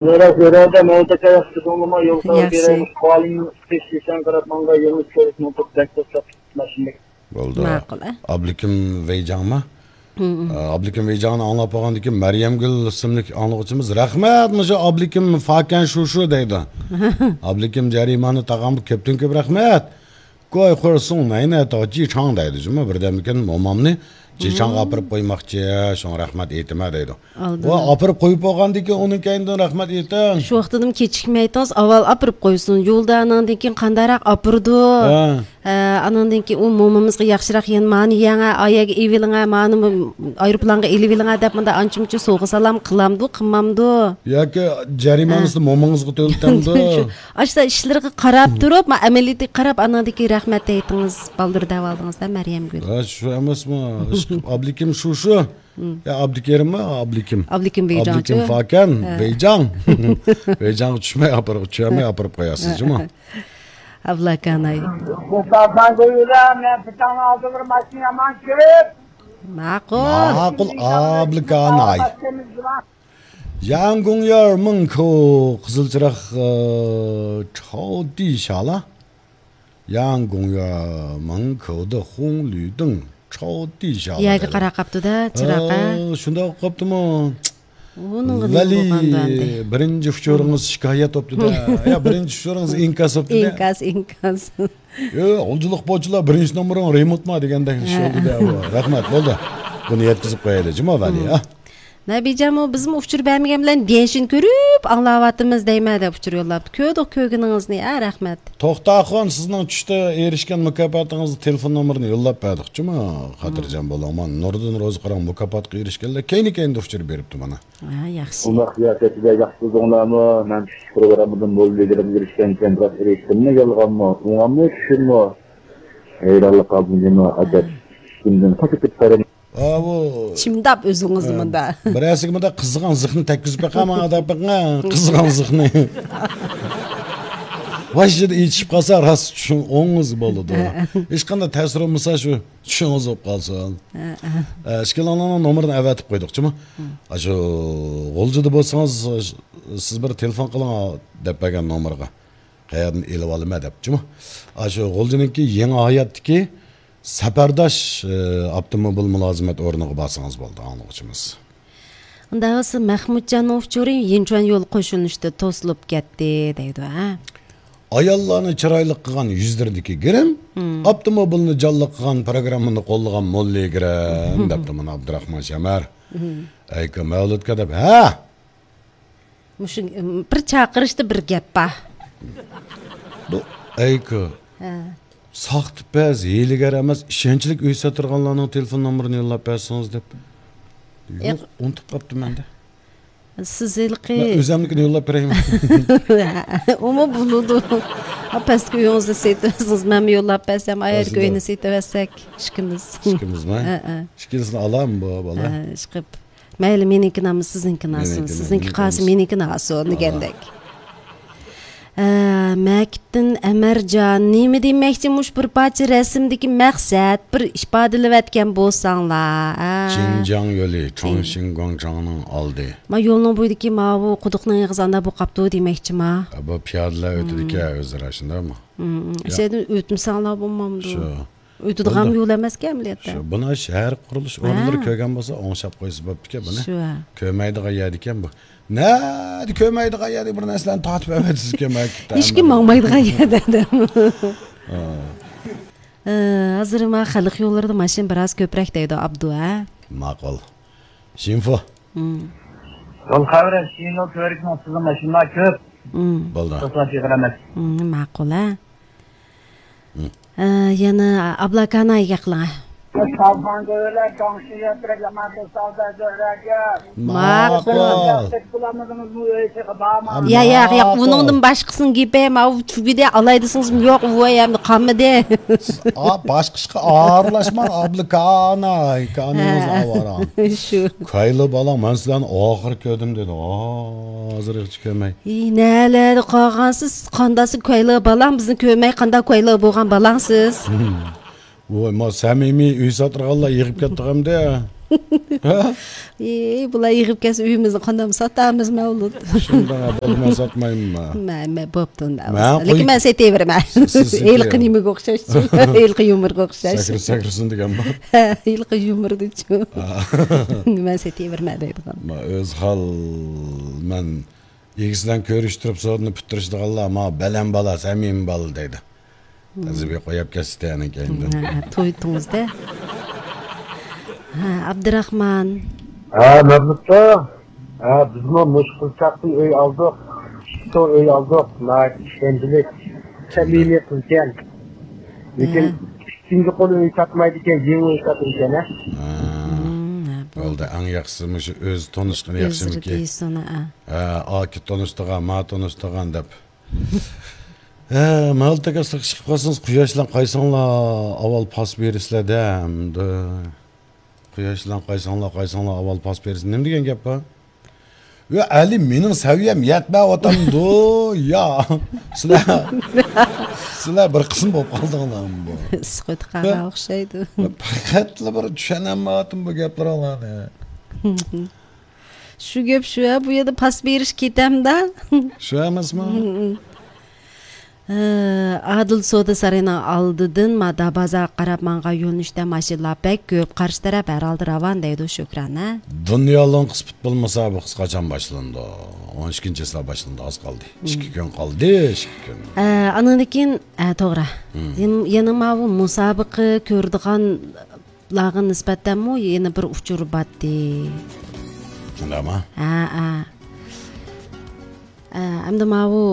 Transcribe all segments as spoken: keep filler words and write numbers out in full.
زۆرە، زۆرەدە مەن تەكە ياخشى دۇڭلىما يولدا ياخشى. بېرەي، مۇشۇ قالىڭ تېكىشەڭ قاراپ ماڭغا يولنى كۆرۈپ مۇنتۇپ بەك توساپ ماشىنىدىكى. بولدى. ماقۇل، ئە؟ ئابلىكىم ۋەيجاڭما؟ ھە، ھە. ئابلىكىم ۋەيجاڭنى ئاڭلاپ بولغاندىن كېيىن، مەريەمگۈل ئىسىملىك ئاڭلىغۇچىمىز، «رەھمەت، مۇشۇ ئابلىكىم فاكەن شۇشۇ» دەيدۇ. «ئابلىكىم جەرىمانە تاغام كۆپتىن كۆپ رەھمەت. گۇي خۇرسۇڭ نەينە تاۋ جىچاڭ» دەيدۇ جۇمۇ. بىردەمدىكىن مومامنى جىچاڭغا ئاپىرىپ قويماقچى، شۇڭا رەھمەت ئېيتىمەن دەيدۇ. ئالدىن. ۋە ئاپىرىپ قويۇپ بولغاندىن كېيىن ئۇنىڭ كەينىدىن رەھمەت ئېيتىڭ. شۇ ۋاقتىدىمۇ كېچىكمەيتىڭىز، ئاۋۋال ئاپىرىپ قويسۇن. يولدا ئاناندىن كېيىن قانداقراق ئاپىرىدۇ؟ ھە. ھە، ئاناندىن كېيىن ئۇ مومىمىزغا ياخشىراق يەنە مانى يەڭە، ئايەگە ئېلىۋېلىڭە، مانى ئايروپىلانغا ئېلىۋېلىڭە دەپ مۇنداق ئانچە-مۇنچە سوۋغا-سالام قىلامدۇ، قىلمامدۇ؟ ياكى جەرىمانىسىنى ھە. مومىڭىزغا تۆلىتەمدۇ؟ شۇ، ئاشۇ ئىشلىرىغا قاراپ تۇرۇپ، ما، ئەمەلىيىتىگە قاراپ، ئاناندىن كېيىن رەھمەت ئېيتىڭىز، بالدۇر دەۋالدىڭىز-دە، مەريەمگۈل. ھە، شۇ ئەمەسمۇ؟ ئابلىكىم شۇ، شۇ. يا، ئابدۇكېرىممۇ؟ ئابلىكىم. ئابلىكىم ۋەيجاڭچۇ؟ ئابلىكىم فاكەن، ھە. ۋەيجاڭ. ۋەيجاڭغا چۈشمەي ئاپىرىپ، چۈشەلمەي ئاپىرىپ قوياسىز جۇمۇ. ئابلاكاناي. سۇلتان گۆيۈلە، مەن پىتاڭنىڭ ئالدىدا بىر ماشىنا يامان كۆپ. ماقۇل. ماقۇل، ئابلىكاناي. ياڭگۇڭيار مىڭكو، قىزىل چىراغ، ئى، چاۋدىشالا. ياڭگۇڭيار مىڭكودا خۇڭلۈدىڭ چاۋدىشالا. يەرگە قاراپ قاپتۇ-دە، چىراغ، ھە؟ ئا، شۇنداق قاپتىمۇ؟ ئۇنىڭغا نېمە ۋەلى بولغاندۇ ئەمدى؟ بىرىنچى ئۇچۇرىڭىز شىكايەت بوپتۇ-دە. يا، بىرىنچى ئۇچۇرىڭىز ئىنكاس بوپتۇ-دە. ئىنكاس، ئىنكاس. يو، غۇلجىلىق پوچىلار، بىرىنچى نومۇرۇڭ رېمونتما دېگەندەك ئىش ھە. بولدى-دە بۇ. رەھمەت، بولدى. بۇنى يەتكۈزۈپ قويايلى، جۇمۇ ۋەلى، ھە؟ نەبىجانمۇ بىزمۇ ئۇچۇر بەرمىگەن بىلەن گەنشىنى كۆرۈپ ئاڭلاۋاتىمىز دەيمەن دەپ ئۇچۇر يوللاپتۇ. كۆردۇق كۆرگىنىڭىزنى، ھە، رەھمەت. توختاخۇن، سىزنىڭ چۈشتە ئېرىشكەن مۇكاپاتىڭىزنىڭ تېلېفون نومۇرىنى يوللاپ بەردۇق جۇمۇ. خاتىرجەم بولۇڭ. مانا نۇردىن روزى قاراڭ مۇكاپاتقا ئېرىشكەنلەر كەينى-كەينىدە ئۇچۇر بېرىپتۇ مانا. ھە، ياخشى. ئۇنداق سىياسەتچىلەر ياخشى بىلدىڭلارمۇ؟ مەن چۈشلۈك پروگراممىدىن موللا بېگىمگە ئېرىشكەنكەن، بىراق ئېرىشتىممۇ، يالغانمۇ؟ ئوڭاممۇ، چۈشۈممۇ؟ ھەيرانلىق قالدىم جۇمۇ، ئاجايىپ. چۈشۈمدىن قاچىپ كېتىپ قارىمەن. ئاۋۇ. چىمداپ ئۆزىڭىزنى ھە، مۇندا. بىرەرسىگە مۇنداق قىزىغان زىخنى تەگكۈزۈپ بېقىڭ، ماڭا دەپ بېقىڭ، قىزىغان زىخنى. ۋاي، ئىچىدە ئېچىشىپ قالسا، راست چۈشۈڭ ئوڭىز بولىدۇ. ھە. ھېچقانداق تەسىر بولمىسا، شۇ چۈشۈڭىز بولۇپ قالسۇن. ھە، ھە. ئە، ئىككىلىڭلارنىڭ نومۇرىنى ئەۋەتىپ قويدۇق جۇمۇ. ھە. ئاشۇ غۇلجىدا بولسىڭىز، سىز بىر تېلېفون قىلىڭ دەپ بەرگەن نومۇرغا. قەيەردىن ئېلىۋالىمەن دەپ جۇمۇ. ئاشۇ غۇلجىنىڭكى يېڭى ھاياتتىكى سەپەرداش، ئى، ئاپتوموبىل مۇلازىمەت ئورنىغا بارسىڭىز بولدى، ئاڭلىغۇچىمىز. ئۇنداق بولسا مەخمۇتجاننىڭ ئۇچۇرى يىنچۇەن يول قوشۇلۇشتا توسۇلۇپ كەتتى دەيدۇ، ھە؟ ئاياللارنى چىرايلىق قىلغان يۈزلىرىدىكى گىرىم، مم. ئاپتوموبىلنى جانلىق قىلغان پروگراممىنى قوللىغان موللا گىرىم، دەپتۇ مانا ئابدۇراخمان شەمەر. مم. ئەيكا مەۋلۇتكا دەپ، ھە! مۇشۇ، بىر چاقىرىشتا بىر گەپ بار. بۇ ئەيكا. ھە. ساختىپەز، ھىيلىگەر ئەمەس، ئىشەنچلىك ئۆي ساتىدىغانلارنىڭ تېلېفون نومۇرىنى يوللاپ بەرسىڭىز دەپ. يوق، ياق. ئۇنتۇپ قاپتىمەن-دە. سىز ھېلىقى مەن ئۆزەمنىڭكىنى يوللاپ بېرەيمۇ؟ ئۇمۇ بولىدۇ. پەسكى ئۆيىڭىزنى سېتىۋەتسىڭىز، مەنمۇ يوللاپ بەرسەم، ئايەردىكى ئۆينى سېتىۋەتسەك، ئىككىمىز. ئىككىمىزمۇ؟ ھە، ھە. ئىككىلىسىنى ئالامۇ بۇ بالا؟ ھە، ئىشقىلىپ. مەيلى، مېنىڭكىنى ئالمىسا سىزنىڭكىنى ئالسۇن، مېنىڭكىنى، سىزنىڭكى قالسا مېنىڭكىنى ئالسۇن دېگەندەك. ئە، مەكىتتىن ئەمەرجان، نېمە دېمەكچى، مۇشۇ بىر پارچە رەسىمدىكى مەقسەت، بىر ئىپادىلىۋەتكەن بولساڭلار، ئە. جىنجاڭ يولى، چاڭشىڭ گۇاڭچاڭنىڭ ئالدى. ما يولنىڭ بويىدىكى ماۋۇ قۇدۇقنىڭ ئېغىزى ئانداق بولۇپ قاپتۇ دېمەكچى ما. ئە، بۇ پىيادىلەر ئۆتىدىكەن ئۆزئارا، شۇنداقمۇ؟ ئىچىدىن ئۆتمىسەڭلار بولمامدۇ؟ شۇ. ئۆتىدىغان يول ئەمەسكەن ئەمەلىيەتتە. شۇ، بۇنى شەھەر قۇرۇلۇش ئورۇنلىرى كۆرگەن بولسا ئوڭشاپ قويسا بوپتىكەن بۇنى. شۇ. كۆرمەيدىغان يەردىكەن بۇ. نەدە كۆرمەيدىغان يەردە بىر نەرسىلەرنى تارتىپ ئەۋەتىسىز كۆرمەي كېتىپ. ھېچكىم ماڭمايدىغان يەردە. ھە، ھازىر ما خەلق يوللىرىدا ماشىنا بىراز كۆپرەك دەيدۇ ئابدۇ، ھە؟ ماقۇل. شىنفو. ھىم. يول خەۋىرى، شىنو كۆۋرۈكنىڭ ئۈستىدە ماشىنىلار كۆپ. ھىم. بولدى. توسۇلۇش ئېغىر ئەمەس. ھىم، ماقۇل، ھە؟ ھە، يەنە ئابلاكانايگە قىلىڭ. ماقۇل. يا، يا، يا، ئۇنىڭدىن باشقىسىنىڭ گېپى، ماۋۇ تۈگىدى، ئالاي دېسىڭىزمۇ يوق، ئۇ ئەمدى قالمىدى. ئا، باشقا ئىشقا ئارىلاشماڭ، ئابلاكاناي، كانىڭىز ئاۋارە. شۇ. كايلا بالاڭ، مەن سىلەرنى ئاخىر كۆردۈم دېدى. ھازىرغىچە كۆرمەي. ئى، نەلەردە قالغانسىز؟ قانداقسى كويلىق بالاڭ، بىزنى كۆرمەي قانداق كويلىق بولغان بالاڭسىز؟ ۋاي، ما سەمىمىي ئۆي ساتىدىغانلار يىغىپ كەتتۇق ئەمدى. ھە؟ ئى، بۇلار يىغىپ كەلسە ئۆيىمىزنى قانداق ساتامىز، مەۋلۇت؟ شۇنداق، بولدى، مەن ساتمايمەن. مەن، مەن بوپتۇ ئۇنداق. مەن بولسا. لېكىن قوي-، مەن سېتىۋېرىمەن. سىز، سىز سېتىۋېرىڭ. ھېلىقى نېمىگە ئوخشاشچۇ؟ ھېلىقى يۇمۇرغا ئوخشاش. سەكرىسە، سەكرىسۇن دېگەنمۇ؟ ھە، ھېلىقى يۇمۇردىچۇ. ھە. مەن سېتىۋېرىمەن دەيدىغان. ما، ئۆز ھال، مەن ئىگىسى بىلەن كۆرۈشتۈرۈپ سودىنى پۈتتۈرۈشىدىغانلار، ما، بەلەن بالا، سەمىمىي بالا دەيدۇ. تەزىبى قويۇپ كەتسىتە ئەنە كەينىدىن. ھە، ھە، تويدىڭىزدە. ھە، ئابدۇراخمان. ھە، مەبلۇتتا. ھە، بىزمۇ مۇشۇ قىزچاقتىن ئۆي ئالدۇق. ئىككى تور ئۆي ئالدۇق. ناھايىتى ئىشەنچلىك. سەمىمىي قىزكەن. لېكىن ھە. ئىككىنچى قول ئۆي ساتمايدىكەن، يېڭى ئۆي ساتىدىكەن، ھە. ھە. مم، ھە، بولدى. بولدى، ئەڭ ياخشىسى مۇشۇ ئۆزى تونۇشقىنى ياخشىمىكى؟ ئۆزلىرى دېسۇن، ھە. ھە، ئاكا تونۇشتۇرغان، ما تونۇشتۇرغان دەپ. ھە، مەۋلۇت ئاكا، سىرتقا چىقىپ قالسىڭىز، قۇياش بىلەن قايسىڭلار ئاۋۋال پاس بېرىسىلەر-دە، ئەمدى. قۇياش بىلەن قايسىڭلار، قايسىڭلار ئاۋۋال پاس بېرىسىلەر. نېمە دېگەن گەپ بۇ؟ يا، ئەلى، مېنىڭ سەۋىيەم يەتمەيۋاتامدۇ؟ يا، سىلەر، سىلەر بىر قىسىم بولۇپ قالدىڭلارمۇ بۇ؟ ئىسسىق ئۆتۈپ قالغان ئوخشايدۇ. پەقەتلا بىر چۈشەنەلمەيۋاتىمەن بۇ گەپلىرىڭلارنى. شۇ گەپ شۇ، ھە، بۇ يەردە پاس بېرىش كېتەمدە. شۇ ئەمەسمۇ؟ ھە، ئادىل سودا سارىيىنىڭ ئالدىدىن مادا بازارغا قاراپ ماڭغان يۆنىلىشتە ماشىنىلار بەك كۆپ، قارشى تەرەپ ھەر ھالدا راۋان دەيدۇ شۆھرەت، ھە؟ دۇنيا لوڭقىسى پۇتبول مۇسابىقىسى قاچان باشلىنىدۇ؟ ئون ئىككىنچى چىسلا باشلىنىدۇ، ئاز قالدى. ئىككى كۈن قالدى، ئىككى كۈن. ئە، ئانىڭدىن كېيىن، ئە، توغرا. يەن-، يەنە ماۋۇ مۇسابىقە كۆرىدىغان لارغا نىسبەتەنمۇ يەنە بىر ئۇچۇر باتتى. شۇنداقمۇ؟ ھە، ھە. ئە، ئەمدى ماۋۇ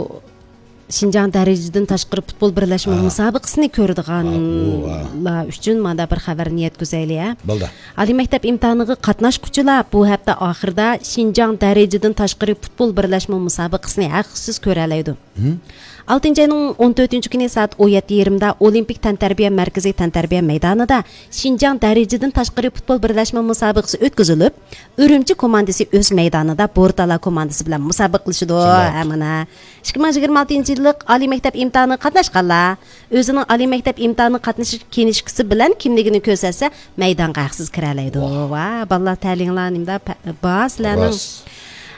شىنجاڭ دەرىجىدىن تاشقىرى پۇتبول بىرلەشمە ھە. مۇسابىقىسىنى ھە، ئۇ، ھە. كۆرىدىغانلار ئۈچۈن مانا بىر خەۋەرنى يەتكۈزەيلى، ھە. بولدى. ئالىي مەكتەپ ئىمتىھانىغا قاتناشقۇچىلار بۇ ھەپتە ئاخىرىدا شىنجاڭ دەرىجىدىن تاشقىرى پۇتبول بىرلەشمە مۇسابىقىسىنى ھەقسىز كۆرەلەيدۇ. ھىم؟ ئالتىنچى ئاينىڭ ئون تۆتىنچى كۈنى سائەت ئون يەتتە يېرىمدا ئولىمپىك تەنتەربىيە مەركىزى تەنتەربىيە مەيدانىدا شىنجاڭ دەرىجىدىن تاشقىرى پۇتبول بىرلەشمە مۇسابىقىسى ئۆتكۈزۈلۈپ، ئۈرۈمچى كوماندىسى ئۆز مەيدانىدا بورتالا كوماندىسى بىلەن مۇسابىقىلىشىدۇ. شۇنداق. ھە، مانا. ئىككى مىڭ يىگىرمە ئالتىنچى يىللىق ئالىي مەكتەپ ئىمتىھانىغا قاتناشقانلار ئۆزىنىڭ ئالىي مەكتەپ ئىمتىھانىغا قاتنىشىش كىنىشكىسى بىلەن كىملىكىنى كۆرسەتسە، مەيدانغا ھەقسىز كىرەلەيدۇ. ۋاھ. ۋاھ، بالىلار، تەلىيىڭلار نېمىدە پە-، بار سىلەرنىڭ. راست.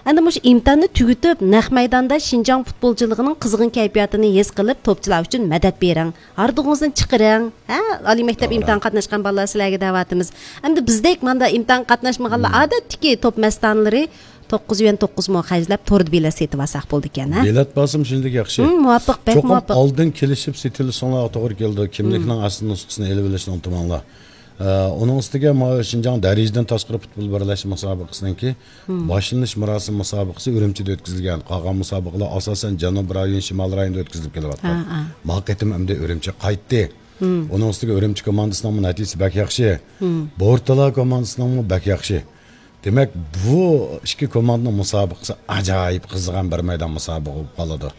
ئەمدى مۇشۇ ئىمتىھاننى تۈگىتىپ، نەق مەيداندا شىنجاڭ پۇتبولچىلىقىنىڭ قىزغىن كەيپىياتىنى ھېس قىلىپ، توپچىلار ئۈچۈن مەدەت بېرىڭ. ھاردۇقىڭىزنى چىقىرىڭ. ھە؟ ئالىي مەكتەپ توغرا. ئىمتىھان قاتناشقان بالىلار سىلەرگە دەۋاتىمىز. ئەمدى بىزدەك ماندا ئىمتىھان قاتناشمىغانلار مم. ئادەتتىكى توپ مەستانىلىرى توققۇز يۈەن توققۇز مو خەجلەپ توردا بېلەت سېتىۋالساق بولىدىكەن، ھە؟ بېلەت باسىمۇ شۇنداق ياخشى. ھىم، مۇۋاپىق، بەك چوقۇم مۇۋاپىق. ئالدىن كېلىشىپ سېتىۋېلىشىڭلارغا توغرا كېلىدۇ. كىملىكنىڭ ھىم. ئەسلى نۇسخىسىنى ئېلىۋېلىشنى ئۇنتۇماڭلار. ئە، ئۇنىڭ ئۈستىگە ماۋۇ شىنجاڭ دەرىجىدىن تاشقىرى پۇتبول بىرلەشمە مۇسابىقىسىنىڭكى ھىم. باشلىنىش مۇراسىمى مۇسابىقىسى ئۈرۈمچىدە ئۆتكۈزۈلگەن. قالغان مۇسابىقىلەر ئاساسەن جەنۇبىي رايون، شىمالىي رايوندا ئۆتكۈزۈلۈپ كېلىۋاتقان. ھە، ھە. ما قېتىم ئەمدى ئۈرۈمچىگە قايتتى. ھىم. ئۇنىڭ ئۈستىگە ئۈرۈمچى كوماندىسىنىڭمۇ نەتىجىسى بەك ياخشى. ھىم. بورتالا كوماندىسىنىڭمۇ بەك ياخشى. دېمەك، بۇ ئىككى كوماندىنىڭ مۇسابىقىسى ئاجايىپ قىزىغان بىر مەيدان مۇسابىقە بولۇپ قالىدۇ.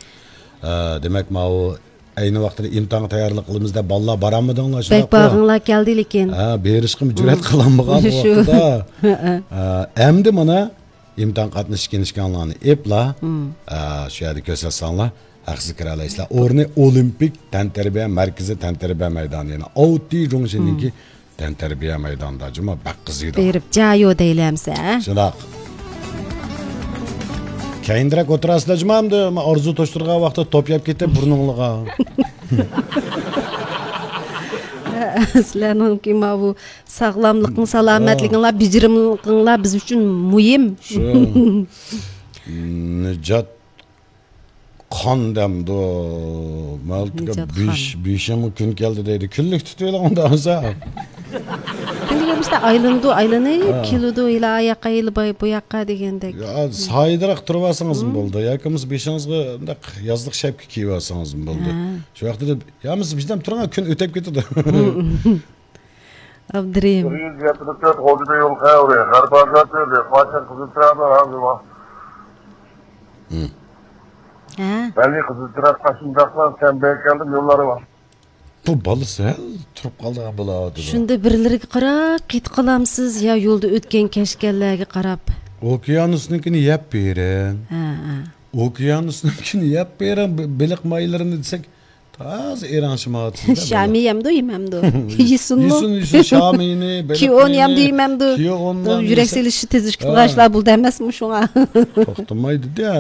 ئە، دېمەك، ماۋۇ ئەينى ۋاقتىدا ئىمتىھانغا تەييارلىق قىلىمىز دەپ بالىلار بارالمىدىڭلار، بەك شۇنداققۇ؟ بارغۇڭلار كەلدى لېكىن. ھە، بېرىشقىمۇ جۈرئەت مم. قىلالمىغان ۋاقتىدا. ھە، ھە. ھە، ئەمدى مانا ئىمتىھان قاتنىشىش كىنىشكاڭلارنى ئېپلا، مم. ئە، شۇ يەردە كۆرسەتسەڭلار، ھەقسىز كىرەلەيسىلەر. ئورنى ئولىمپىك تەنتەربىيە مەركىزى، تەنتەربىيە مەيدانى، يەنى ئاۋتى جۇڭشىننىڭكى مم. تەنتەربىيە مەيدانىدا جۇمۇ بەك قىزىيدۇ. بېرىپ جايۇ دەيلى ئەمسە. شۇنداق. كەينىدىرەك ئولتۇراسىلەر جۇمۇ ئەمدى ئارزۇ توشتۇرغان ۋاقىتتا توپ يەپ كېتىپ بۇرنۇڭلىغا. سىلەرنىڭكى ماۋۇ ساغلاملىقىڭ، سالامەتلىكىڭلار، بېجىرىملىقىڭلار بىز ئۈچۈن مۇھىم. شۇ. نىجات قان دەمدۇ. مەلتىكە نىجات بېش-، خان. بېشىڭغا كۈن كەلدى دەيدۇ. كۈنلۈك تۇتۇۋېلىڭ ئۇنداق بولسا. كۈنلۈك ئەمىسە ئايلىنىدۇ، ئايلىنىپ ھە. كېلىدۇ، ھېلى ئا ياققا، ھېلى باي-، بۇ ياققا دېگەندەك. يا، سايىدىراق تۇرۇۋالسىڭىزمۇ مم. بولدى. ياكى بولمىسا بېشىڭىزغا مۇنداق يازلىق شەپكە كىيىۋالسىڭىزمۇ بولدى. ھە. شۇ ۋاقىتتا يا بولمىسا بىردەم تۇرۇڭ، كۈن ئۆتۈپ كېتىدۇ. ئابدۇرېھىم. بىر يۈز يەتمىش تۆت غوجىدا يول خەۋىرى، غەربىي ئازادلىرى، قاچان قىزىل تىرەپلەر ھازىر بار. ھە؟ بەلگە قىزىل تىرەپ قاچىلىداقلار، سەن بەرگەن يوللار بار. بۇ بالا سەل تۇرۇپ قالىدىغان بولاۋاتىدۇ. شۇندا بىرلىرىگە قاراپ كېتىپ قالامسىز يا يولدا ئۆتكەن كەچكەنلەرگە قاراپ؟ ئوكيانۇسنىڭكىنى يەپ بېرىڭ. ھە، ھە. ئوكيانۇسنىڭكىنى يەپ بېرىڭ، بې-، بېلىق مايلىرىنى دېسەك، ھازىر ئېرەڭشىمەۋاتىسىز. شامى يەمدۇ يېمەمدۇ؟ يېسۇنمۇ؟ يېسۇن، يېسۇن، شامىنى، كىئون يەمدۇ يېمەمدۇ؟ يۈرەك سېلىشى تېزلىشىپ قالغان ئىشلار بولىدۇ ئەمەسمۇ شۇڭا؟ توختىمايدۇ-دە.